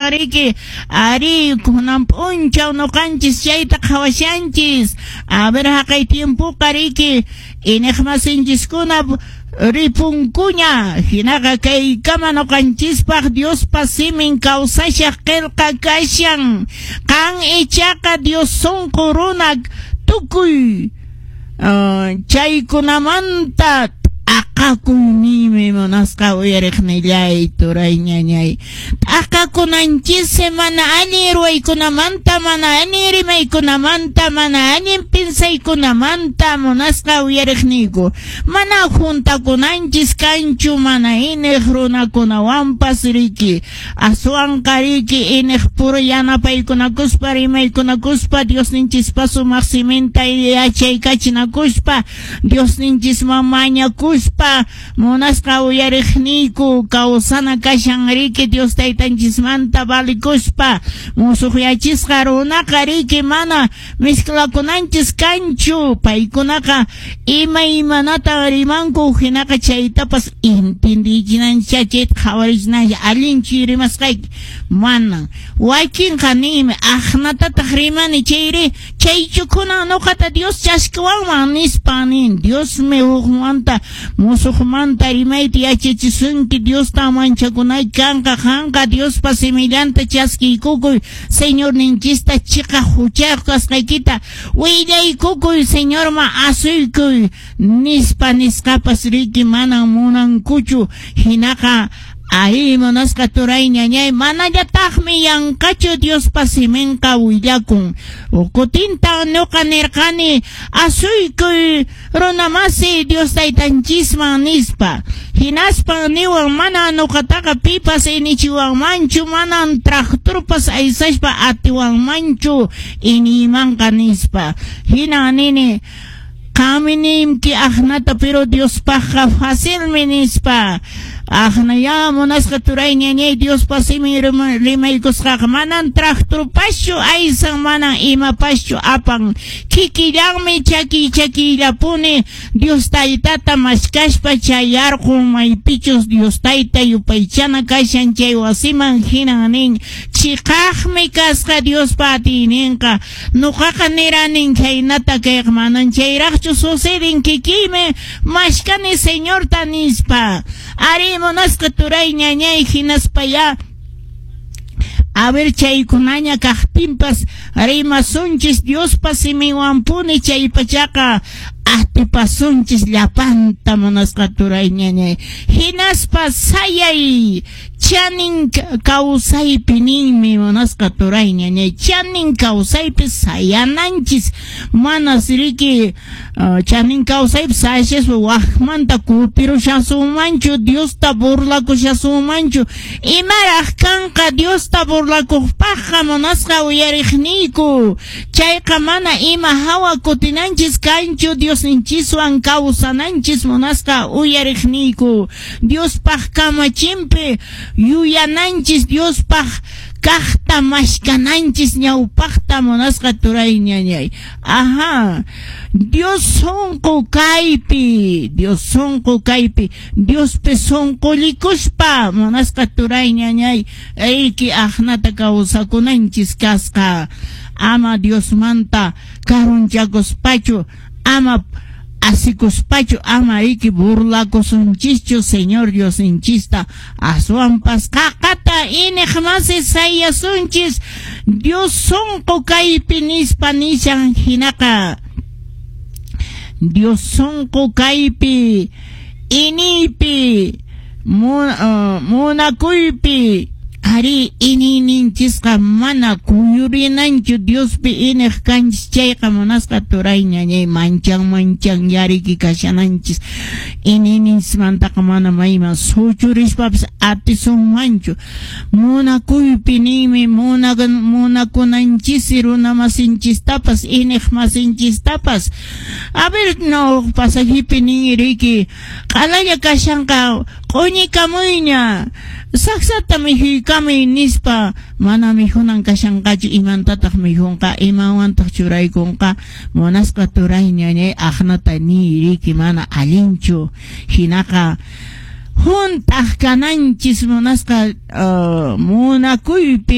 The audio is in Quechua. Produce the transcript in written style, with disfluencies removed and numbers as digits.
kashan riki. Ari kunan p'unchaw nuqanchis chayta qhawashanchis. A ver haqay tiempoqa riki iniqmasinchiskuna ripunkuña, hinaqa kaykama nuqanchispaq Diospa simin kawsashaq qillqa kashan. Qan ichaqa Dios sunqu runa tukuy chaykunamanta t'aqakuy ninmi munasqa uyariqnillay turay ñañay. T'aqakunanchis mana allin ruwaykunamanta, mana allin rimaykunamanta, mana allin pinsaykunamanta munasqa uyariqniyku. Mana juntakunanchis kanchu mana iniq runakunawanpas riki. Aswanqa riki iniq puro yanapaykunakuspa rimaykunakuspa Diosninchispa sumaq siminta yachaykachinakuspa Diosninchisman mañakuspa munasqa uyariqniyku kawsana kashan riki Dios taytanchismanta valikuspa musuqyachisqa runaqa riki mana mezclakunanchis kanchu paykunaqa imaymanata rimanku hinaqa chaytapas entendichinanchis chayta qhawarichinanchis allinchu rimasqayki manan wakinqa ninmi aqnatataq rimani chayri chaychu kunan nuqata Dios chaskiwanman nispa nin Diosmi hukmanta musuqmanta rimayta yachachisunki Diosta manchakunayki kanqa qanqa Diospa simillanta chaskiykukuy Señorninchista chiqa huchayuq kasqaykita willaykukuy Señorman asuykuy nispa nisqapas riki manan munankuchu hinaqa arí munasqa turay ñañay manallataqmi yanqachu Diospa siminqa willakun. Kutinta nuqa nirqani asuykuy runamasi Dios taytanchisman nispa. Hinaspan niwan mana nuqataqa pipas inichiwanmanchu manan tractorpas aysashpa atiwanmanchu iniymanqa nispa. Hina nini qanmi ninki aqnata pero Diospaqqa facilmi nispa. Aqnaya munasqa turay ñañay Diospa simin rimaykusqaqa manan tractorpaschu aysan manan imapaschu apan kikillanmi chakiy chakiyllapuni Dios taytata mashkashpa chayarqun maypichus Dios tayta yupaychana kashan chay wasiman hinan nin chiqaqmi kasqa Diospa atiyninqa nuqaqa niranin khaynata kayqa manan chayraqchu suceden kikiymi mashkani Señorta nispa. Ari munasqa turay ñañay hinaspaya a ver chaykunaña kaqtinpas rimasunchis Diospa siminwanpuni chay pachaqa atipasunchis llapanta munasqa turay ñañay hinaspa sayay chanin kawsaypi ninmi munasqa turay ñañay chanin kawsaypi sayananchis manas riki chanin kawsaypi sayashaspa waqmanta kutirushasunmanchu Diosta burlakushasunmanchu imaraq kanqa Diosta burlakuqpaqqa munasqa uyariqniyku chayqa mana ima hawa kutinanchis kanchu Diosninchiswan kawsananchis munasqa uyariqniyku Diospaq kamachinpi yuyananchis Diospaq kaqta mashkananchis ñawpaqta munasqa turay ñañay. Ajá, Dios sunqu kaypi, Dios sunqu kaypi, Diospi sunqullikuspa munasqa turay ñañay, riki aqnata kawsakunanchis kasqa. Ama Diosmanta karunchakuspachu, ama asikuspachu, ama riki burlakusunchischu Señor Diosninchista, aswanpas qaqata iniq masi sayasunchis Dios sunqu kaypi nispa nishan hinaqa Dios sunqu kaypi iniypi munakuypi ari iniyninchisqa mana kuyurinanchu Diospi iniq kanchis chayqa munasqa turay ñañay manchan manchan yariki kashananchis iniyninchismantaqa mana mayman suchurispapas atisunmanchu munakuypi ninmi munakunanchis runamasinchistapas iniq masinchistapas. A ver no pasajipi nin riki q'alalla kashanqa q'uñikamuyña saksata mikhuykamuy nispa mana mikhunan kashanqachu imantataq mikhunqa imawantaq churaykunqa munasqa turay ñañay aqnata niy riki mana allinchu hinaqa hunt'aq kananchis munasqa munakuypi.